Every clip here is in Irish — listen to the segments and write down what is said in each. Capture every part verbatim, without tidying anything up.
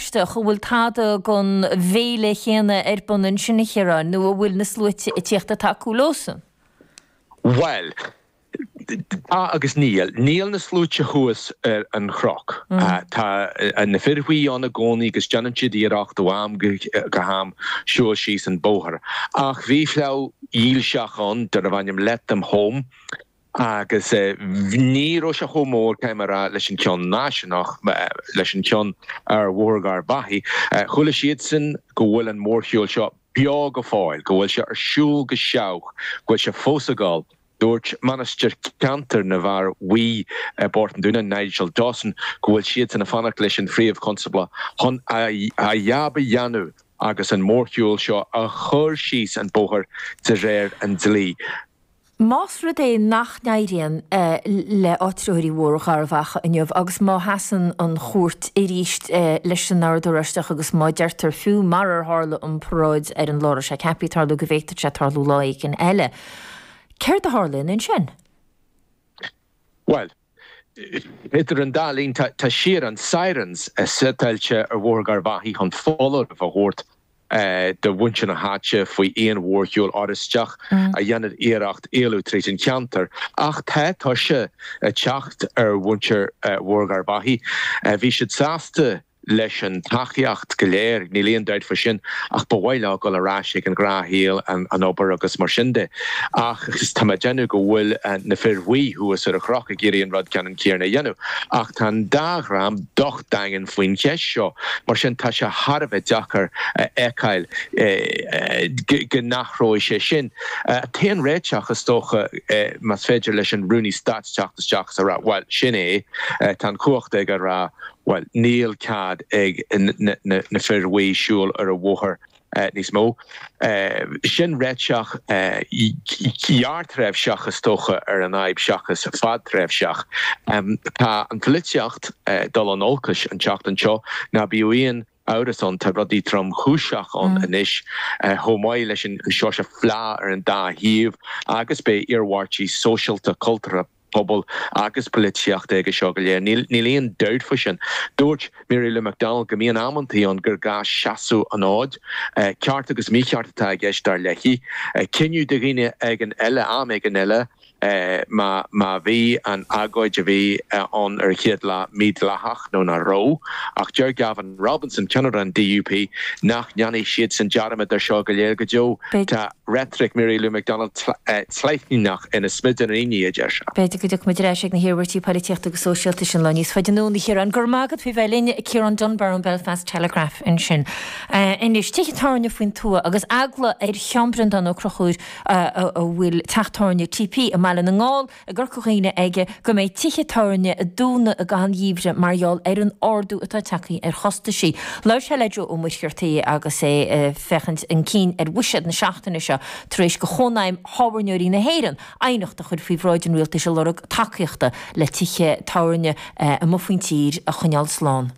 Oráisteach, an bhfuil tada den bhféile chéanna ar bun ansin, a Chiaráin, nó an bhfuil na sluaite ag tíocht ag tacú leosan? Bhuel, tá agus níl. Níl na sluaite thuas ar an chnoc. Tá na fir bhuí ann i gcónaí agus déanann siad iarracht ó am go ham siúl síos an bóthar. Ach bhí fleadh dhílseach ann darbh ainm Let Them Home agus ní raibh sé chomh mór, caithfidh mé a rá, leis an cheann náisiúnach, leis an cheann ar Bhóthar Gharbhachaidh. Chuala siadsan go bhfuil an mórshiúl seo beo go fóill, go bhfuil sé ar siúl go seach, go bhfuil sé fós ag dul. Dúirt Mainistir Ceantair na bhFear Bhuí i bPort an Dúnáin, Nigel Dawson, go bhfuil siadsan ag fanacht leis an Phríomh-Chonstábla chun a jab a dhéanamh agus an mórshiúl seo a chur síos an bóthar de réir an dlí. Más rud é nach n-éiríonn le áitritheoirí Bhóthar Gharbhachaidh inniu agus má sheasann an chúirt arís leis an Ord Oráisteach agus má deirtear fiú mar ar tharla an paráid ar an lá a raibh sé ceaptha tarlú go bhféadfadh sé tarlú lá éigin eile, céard a tharlaíonn ansin? Bhuel, idir an dá linn tá siar an sirens suiteáilte ar Bhóthar Gharbhachaidh chun foláireamh a thabhairt do mhuintir na háite faoi aon mhórshiúl Oráisteach a dhéanann iarracht éalú tríd an cheantar. Ach tá tuirse ag teacht ar mhuintir Bhóthar Gharbhachaidh. Bhí siad sásta leis an tacaíocht go léir, níl aon dabht faoi sin, ach ba mhaith leo dul ar ais ag an ghnáthshaol, an obair agus mar sin de. Ach tá mé ag déanamh go bhfuil na fir bhuí thuas ar an chnoc ag iarraidh an rud ceannann céanna a dhéanamh. Ach tá an dá dhream docht daingean faoin cheist seo, mar sin tá sé thar a bheith deacair a fheiceáil go n-athróidh sé sin. An t-aon réiteach, is dócha, más féidir leis an Rúnaí Stáit teacht isteach is a rá, bhuel, sin é, tá an chumhacht aige a rá, bhuel, níl cead ag na fir bhuí siúl ar an bhóthar níos mó. Sin réiteach gearrthréimhseach, is dócha, ar an fhadhb seachas fadtréimhseach. Tá an pholaitíocht ag dul in olcais an tseachtain seo, ná bíodh aon amhras ann, tá rudaí tromchúiseach ann anois, chomh maith leis an seo seo fleá ar an dá thaobh agus beidh iarmhairtí sóisialta, cultúrtha, pobail agus polaitíochta aige seo go léir. Níl aon dabht faoi sin. Dúirt Mary Lou McDonald go mbíonn amantaí ann gur gá seasamh an fhóid. Ceart agus mícheart atá i gceist dar léi. Cinneadh do dhaoine éigin eile, am éigin eile, má má bhí an agóid a bhí ann ar an chéad lá mídhleathach nó nach raibh. Ach deir Gavin Robinson, ceannaire an D U P, nach ndéanfaidh siadsan dearmad ar seo go léir go deo. Tá reitric Mary Lou McDonald tlaithníneach ina smidiríní, a deir sé. B'fhéidir go dtiocfaidh muid ar ais ag na hiarmhairtí polaitíochta agus sóisialta sin lá níos faide anonn, a Chiaráin. Go raibh maith agat faoi bheith linn, Ciarán Dunbar ón Belfast Telegraph ansin. Anois, tithe tábhairne faoin tuath agus eagla ar Sheán Breandán Ó Conchúir a bhfuil teach tábhairne T P i mBaile na nGall i gCorca Dhuibhne aige go mbeidh tithe tábhairne ag dúnadh i gcaitheamh an gheimhridh mar gheall ar an ardú atá tagtha ar chostaisí. Labhair sé le Joe Ó Muircheartaigh agus é ag féachaint chun cinn ar bhuiséad na seachtaine seo tar éis do Chónaidhm Thábhairneoirí na hÉireann aighneacht a chur faoi bhráid an rialtais ag lorg tacaíochta le tithe tábhairne amuigh faoin tír a choinneáil slán.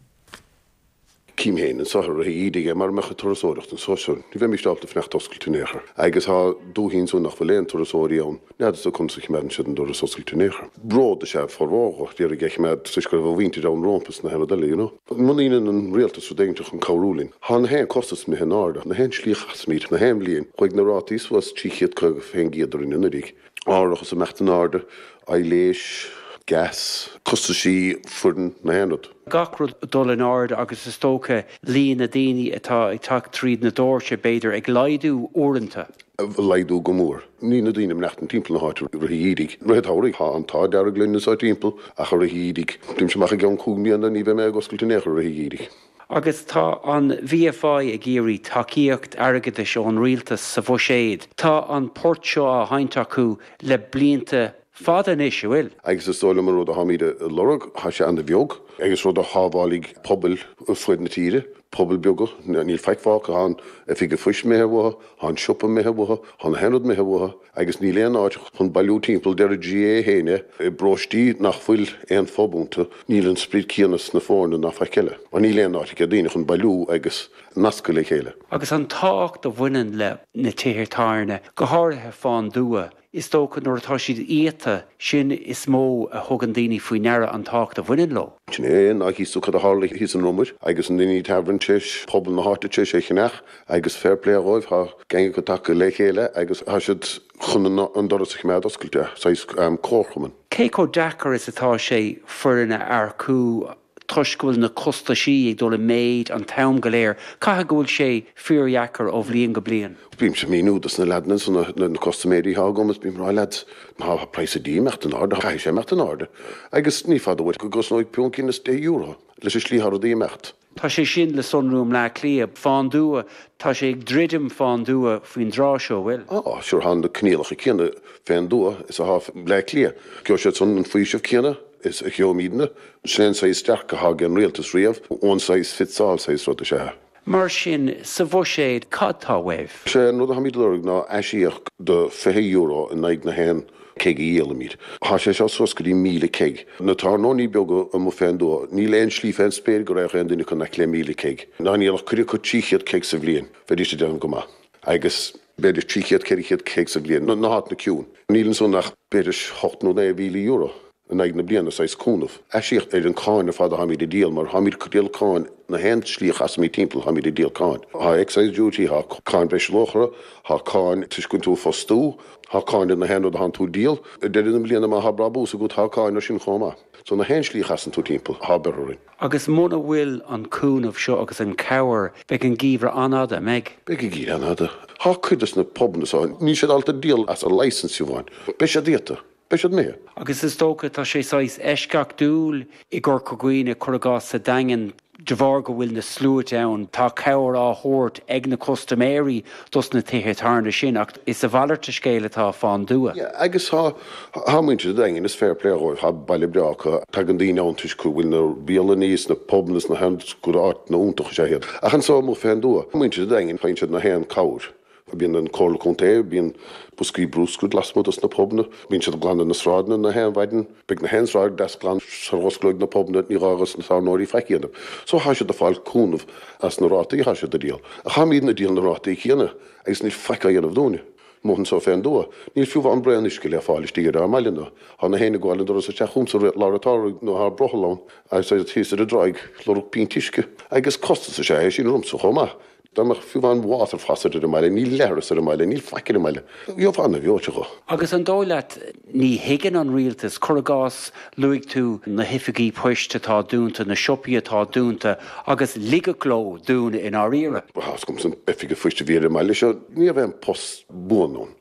Cím féin anseo i rith an gheimhridh mura mbeadh an turasóireacht anseo seo, ní bheimis ábalta fanacht oscailte in aon chor. Agus tá dúichí anso nach bhfuil aon turasóirí ann, n'fheadar sa conas a choimeádann siad an doras oscailte in aon chor. Bród is ea formhór d'iarraidh é a choimeád toisc go raibh a mhuintir ann rómpa sna haon rud eile, you know. Muna ndéanann an rialtas rud éigin chun cabhrú linn, tá na haon costas imithe in airde, na haon slí a chasaimid, na haon bhliain, chuaigh na rátaí suas trí chéad caoga faoin gcéad orainn anuraidh. Árachas imeacht in airde, aibhléis, gas, costaisí foireann, na haon rud. Gach rud ag dul in airde agus is dócha líon na daoine atá ag teacht tríd na doirse b'fhéidir ag laghdú uaireanta. Ag laghdú go mór. Níl na daoine ag imeacht timpeall na háite i rith an gheimhridh. Rith an tsamhraidh, tá an t-ádh dearg linn anseo timpeall ach i rith an gheimhridh, déanaimse amach i gceann cúig mbliana ní bheidh mé ag oscailt in aon chor i rith an gheimhridh. Agus tá an V F I ag iarraidh tacaíocht airgeadais ón rialtas sa bhuiséad. Tá an port seo á sheinnt acu le blianta fada anois, an bhfuil? Agus is dóigh liom an rud atáimid a lorg, tá sé ana-bheag, agus rud a shábhálfaidh pobail ar fuaid na tíre, pobail beaga, níl faic fágtha, tá an oifig an phoist imithe uathu, tá an siopa imithe uathu, tá na haon rud imithe uathu, agus níl aon áit chun bailiú timpeall, deir an G A A féin é, i bparóistí nach bhfuil aon phub iontu, níl an sprid céanna sna foirne ná faic eile, mar níl aon áit ag daoine chun bailiú agus nascadh le chéile. Agus an tábhacht a bhaineann le na tithe tábhairne, go háirithe fán dtuath. Is dócha nuair atá siad iata, sin is mó a thugann daoine faoi ndeara an tábhacht a bhaineann leo. Sin é, ná thíos tú cad a tharla thíos in Rumour agus an Dinny Tavern tar éis pobal na háite tar éis é cheannach agus fair play dhóibh, tá gang acu tagtha le chéile agus tá siad chun an doras a choimeád oscailte, saghas comharchumann. Cé chomh deacair is atá sé foireann a earcú toisc go bhfuil na costaisí ag dul i méid an t-am go léir, caithfidh go bhfuil sé fíordheacair ó bhliain go bliain. Bímse ag míniú dos na leaideanna ansan, na custaiméirí atá agam, is bím ag rá, lads, má tá praghas an dí ag imeacht in airde, caithfidh sé imeacht in airde. Agus ní fada uait go gcosnóidh punt is deich euro leis an slí atá rudaí ag imeacht. Tá sé sin le sonrú i mBleá Cliath. Fán dtuath, tá sé ag druidim fán dtuath faoin dtráth seo, bhfuil? Á, sure, tá na coinníollacha céanna fén dtuath is atá i mBleá Cliath. Gheobhaidh siad san an faoiseamh céanna is a gheobhaimidne. Sin é an saghas dearcadh atá ag an rialtas riamh, one size fits all saghas rud is ea é. Mar sin, sa bhuiséad, cad tá uaibh? Sé an rud atáimid ag lorg ná aisíoc de fiche euro in aghaidh na haon keg a dhíolaimid. Tá sé seo suas go dtí míle keg. Na tábhairneoirí beaga amuigh fén dtuath, níl aon slí fén spéir go raghadh aon duine acu in aice le míle keg. Dá ndíolfadh cuid acu trí chéad keg sa bhliain, bheidís ag déanamh go maith. Agus b'fhéidir trí chéad, ceithre chéad keg sa bhliain, na háiteanna ciúin. Níl ansan ach b'fhéidir hocht nó naoi mhíle euro. in aghaidh na bliana, saghas cúnamh. Aisíoc ar an cáin ar fad atháimid ag díol, mar tháimid ag díol cáin na haon slí a chasaimid timpeall, tháimid ag díol cáin. Tá excise duty, tá cáin bhreisluachmhara, tá cáin toisc go bhfuil tú ag fostú, tá cáin ar na haon rud atánn tú ag díol. Ag deireadh na bliana má tá brabús agat tá cáin ar sin chomh maith. So na haon slí a chasann tú timpeall, tá beart orainn. Agus muna bhfuil an cúnamh seo agus an cabhair, beidh an geimhreadh an-fhada, an mbeidh? Beidh an geimhreadh an-fhada. Tá cuid des na pubanna so, níl siad ábalta díol as a licence fiú amháin. Beidh siad iata. Beidh siad imithe. Agus is dócha, tá sé saghas eisceachtúil i gCorca Dhuibhne, cuir i gcás sa Daingean, de bharr go bhfuil na sluaite ann, tá cabhair á thabhairt ag na custaiméirí dos na tithe tábhairne sin, ach is a mhalairt de scéal atá fán dtuath. Yeah, agus tá, tá muintir an Daingin, is fair play dhóibh, tá baile breá acu, tagann daoine ann toisc go bhfuil na bialanna is na pubanna is na haon, gur áiteanna iontacha is ea iad. Ach anso amuigh fén dtuath, muintir an Daingin, faigheann siad na haon cabhair. Bíonn an Comhairle Contae, bíonn boscaí bruscair lasmuigh dos na pubanna, bíonn siad ag glanadh na sráideanna na haon mhaidin, beidh na haon sráid deas glan sar osclóidh na pubanna, ní gá dos na tábhairneoirí faic a dhéanamh. So thá siad ag fáil cúnamh as na rátaí athá siad a díol. Ach tháimídne ag díol na rátaí céanna agus níl faic á dhéanamh dúinne. Amuigh anso fén dtuath. Níl fiú amháin braon uisce le fáil istigh ar ár mbaile ná thá na héinne ag gabháil an doras isteach chugamsa i lár an tsamhraidh nó thá brothall ann agus iad thíos ar an dtráigh ag lorg pínt uisce. Agus costas is ea é sin ormsa chomh maith. Dá mbeadh fiú amháin water faucet ar an mbaile, níl leithreas ar an mbaile, níl faic ar an mbaile, gheofá ana-bhreoite dho. Agus an dóigh leat, ní thuigeann an rialtas, cuir i gcás, luaigh tú na hoifigí poist atá dúnta, na siopaí atá dúnta, agus ligeadh leo dúnadh i ndáiríre. Tá 's agamsa an oifig phoist a bhí ar an mbaile seo, ní raibh aon post buan ann.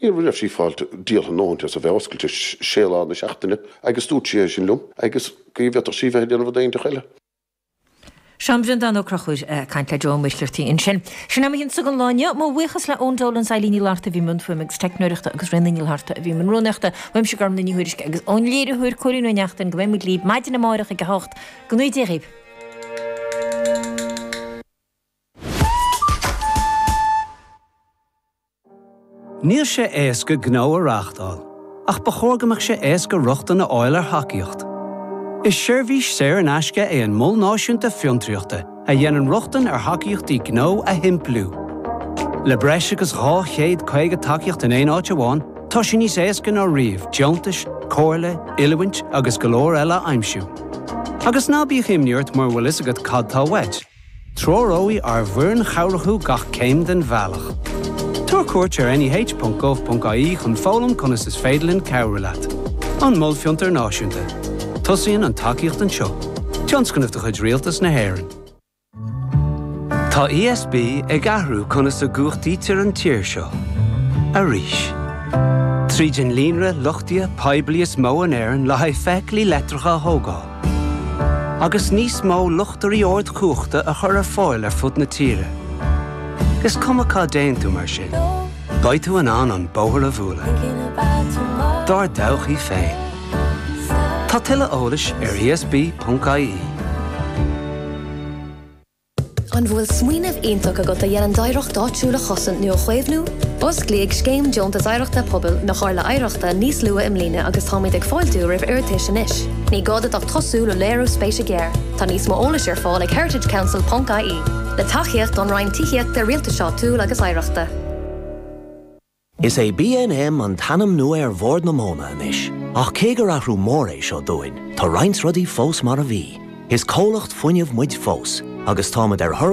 Ní raibh sí fáilte díoltha a ndóthain as a bheith oscailte sé lá na seachtaine agus dúirt sí é sin liom agus go bhféadfadh sí bheith ag déanamh rud éiginteach eile. Seán Breandán Ó Conchúir ag caint le Joe Ó Muircheartaigh ansin. Sin am a don lá inniu. Mo bhuíochas le Eoin Dolan, Eileen Ní Fhlatharta a bhí i mbun fuaime agus teicneoireachta agus Ríona Ní Fhlatharta a bhí i mbun rúnaíochta. Uaimse Gormlaith Ní Thuairisg agus ón léiritheoir Cóilín Ó Neachtain go mbeidh muid libh maidin amárach ag a hocht. Go ngnóthaí Dia dhaoibh. Níl sé éasca gnó a reáchtáil, ach ba chóir go mbeadh sé éasca rochtain a fháil ar thacaíocht. Is seirbhís saor in aisce é an Mol Náisiúnta Fiontraíochta a dhéanann rochtain ar thacaíochtaí gnó a shimpliú. Le breis agus dhá chéad caoga tacaíocht in aon áit amháin, tá sé níos éasca ná riamh deontais, comhairle, oiliúint agus go leor eile a aimsiú. Agus ná bíodh imní ort mura bhfuil fhios agat cad tá uait. Treoróidh ár bhfoireann chabhrach thú gach céim den bhealach. Tabhair cuairt ar neh.gov.ie chun foghlaim conas is féidir linn cabhrú leat. An Mol Fiontar Náisiúnta. Tosaíonn an tacaíocht anseo. Tionscnamh de chuid Rialtas na hÉireann. Tá ESB ag athrú conas a gcumhachtaítear an tír seo. Arís. Tríd an líonra luchtaithe poiblí is mó in Éirinn le haghaidh feithiclí leictreacha a thógáil. Agus níos mó luchtairí ardchumhachta a chur ar fáil ar fud na tíre. Is cuma cá dtéann tú mar sin, beidh tú in ann an bóthar a bhualadh. Dár dtodhchaí féin. Tá tuilleadh eolais ar ESB.ie. An bhfuil smaoineamh iontach agat a dhéanann d'oidhreacht áitiúil a chosaint nó a chaomhnú? Osclaíodh Scéim Deontas Oidhreachta Pobail na Comhairle Oidhreachta níos luaithe i mbliana agus táimid ag fáiltiú roimh iarratais anois. Ní gá duit ach tosú le léiriú spéise géar. Tá níos mó eolais ar fáil ag heritagecouncil.ie. Le tacaíocht ón Roinn Tithíochta Rialtais Áitiúil agus Oidhreachta. Is é B N M an t-ainm nua ar Bhord na Móna anois, ach cé gur athrú mór é seo dúinn, tá roinnt rudaí fós mar a bhí. Is comhlacht fuinnimh muid fós, agus táimid ar